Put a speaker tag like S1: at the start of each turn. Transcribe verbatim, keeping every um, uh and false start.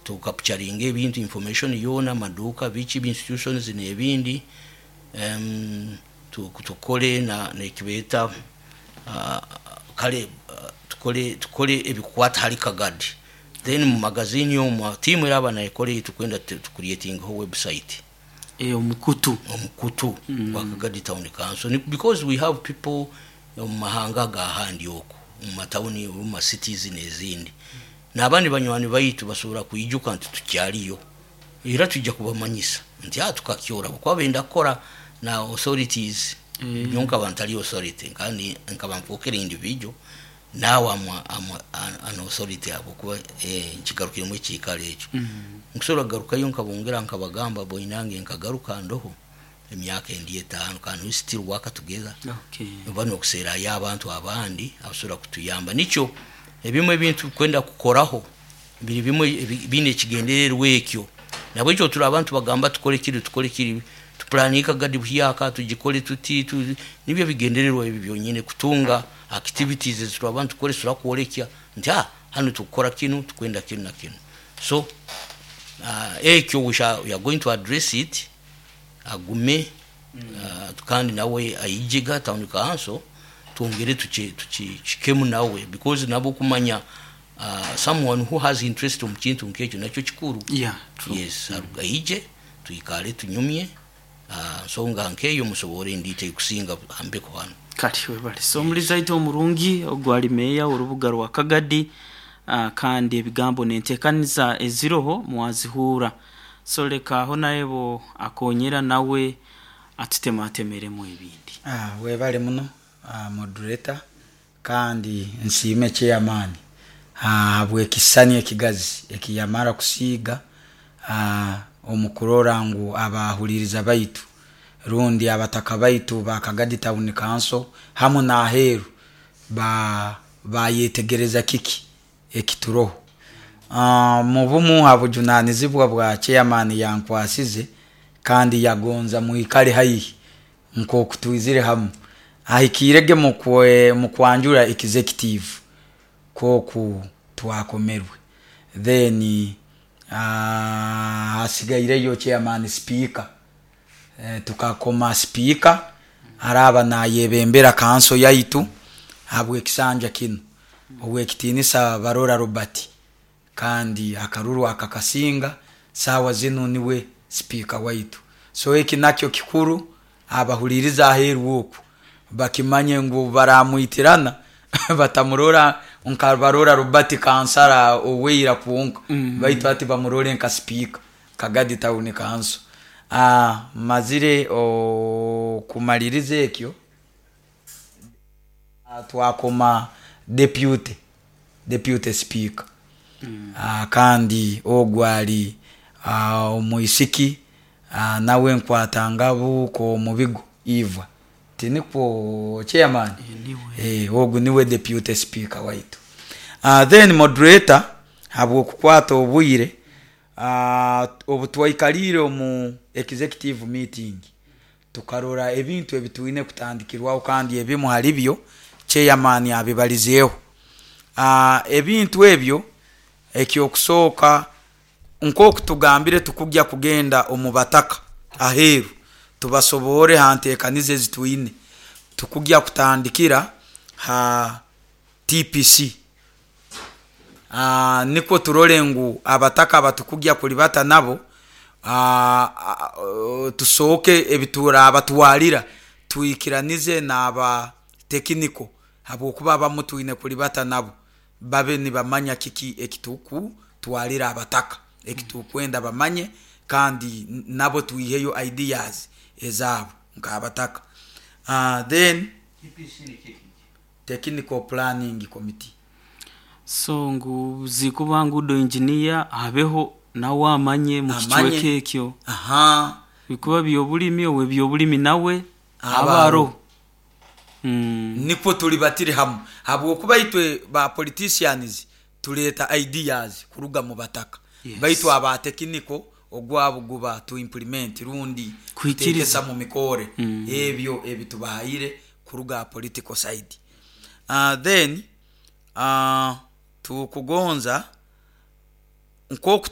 S1: Tucapturinga ebintu, information yoona, amaduuka, biki, institutions n'ebindi. um, tukore na nekibeeta uh, kale uh, tukore tukore ebikukwata hali Kagadi. Then mu magazini omwo tiimu eraba nekora, tukwenda tucreatingaho website.
S2: E, omukutu.
S1: Omukutu mm. gwa Kagadi Town Council. Ni- because we have people mu mahanga gahandi okwo, mu matawuni, mu ma cities n'ezindi, n'abandi banywani baitu basobora kwijuka nti tukyaliyo, era tujja kubamanyisa nti ah, tukakyora kuba benda kukora na authorities.
S2: Eh.
S1: Nyo nkaba ntali authority, kandi nkaba nfukire individual, naawe amwa, amwa, an authority abo kuba eh, nkigarukiremu ekiikaro ekyo.
S2: Mm.
S1: Nkusobora kugarukayo nkabongera nkabagamba, boinange nkagaruka ndoho emyaka endi etaano, kandi we still work together.
S2: Okay.
S1: Oba nokuseerayo abantu abandi abasobora kutuyamba. Nikyo ebimu ebintu kwenda kukoraho biri bimwe ebi- biine ekigendererwa ekyo. Nabwekyo turi abantu bagamba tukole kiri, tukole kiri, tupulaninga Kagadi buhyaka, tugikole tuti tu, nibyo bigendererwa ebi byonyine, kutunga activities ezituri abantu tukole turakwolekya nti ah, hano tukukora kinu, tukwenda kinu na kinu. So uh, ekyo we, shall, we are going to address it. Agume uh, kandi nawe ayijiga town council, twongere tuki- tukikemu nawe, because nabo kumanya uh, someone who has interest omu kintu nkekyo nakyo kikuru.
S2: Yeah, true.
S1: Yes, aije tuikale, tunyumye uh, nsonga nkeyo, musobore ndite kusinga ambeko hano.
S2: Kati webale. So omulizi aitu omurungi, ogwali meeya orubuga rwa Kagadi, uh, kandi ebigambo nentekaniza eziroho mwazihuura. So leka aho naebo akonyera nawe atutematemeremu ebindi.
S3: Ah, webale muno, ah, moderator, kandi nsiime chairman habwekisani ekigazi ekiyamara kusiiga ah, omu kurora ngu abahuliriza baitu rundi abataka baitu ba Kagadi Town Council hamu n'aheeru ba bayetegereza kiki ekituroho. uh, mu bumu ha bujunanizibwa bwa chairman yankwasize kandi yagonza mwikale haihi nk'oku twizire hamu, ahikirege mukwe mukwanjura executive koku twakomerwe. Then uh, hasigaireyo chairman speaker. eh, tukakoma speaker araba nayebembera kanso yaitu habwekisanja kinu, owekitiinisa Barora Robert, kandi akaruru akakasinga. Sawa zinu niwe speaker waitu. So eki nakyo kikuru, abahuliriza aheeru oku bakimanye ngu baramwitirana batamurora nka Barora Robert kansara oweira kwonka, mm. baitu ati bamurore nka speaker Kagadi Town Council. ah, mazire okumaliriza ekyo, ah, twakoma deputy deputy speaker mm. ah, kandi ogwo ali ah, omwisiki, ah, nawe nkwata ko mubigo Eva, tinikwo chairman?
S2: Niwe.
S3: Eh, ogu niwe deputy speaker waitu. uh, then moderator, habwokukwata obwire, uh, obu twaikalire omu executive meeting tukarora ebintu ebitwine kutandikirwaho, kandi ebimu hali byo chairman abibalizeeho. uh, ebintu ebyo, ekyokusooka, nk'oku tugambire, tukujya kugenda omu bataka aheeru tubasobore ha nteekaniza ezitwine. Tukujya kutandikira ha T P C, uh, nikwo turole ngu abataka abatukujya kulibata nabo, uh, uh, tusooke ebiturabatwalira twikiranize n'aba technical, habwokuba abamu twine kulibata nabo babe nibamanya kiki ekitukutwalira abataka, ekitukwenda bamanye, kandi nabo twiheyo ideas ezaabo nk'abataka. uh, then technical planning committee.
S2: So ngu zikuba ngudo engineer abeho nawe amanye mu
S3: Amanye.
S2: kicweka ekyo.
S3: Aha.
S2: Bikuba byobulimi, owe byobulimi nawe
S3: Aba
S2: abaro mm.
S3: Nikwo tuli batiri hamu, habwokuba itwe ba politicians tuleeta ideas kuruga mu bataka,
S2: Yes.
S3: baitu aba technical ogwabo guba to implement rundi
S2: Kuhikiriza.
S3: kuteekesa mu mikore
S2: Mm.
S3: ebyo ebitubahaire kuruga political side. uh, then uh, tukugonza nk'oku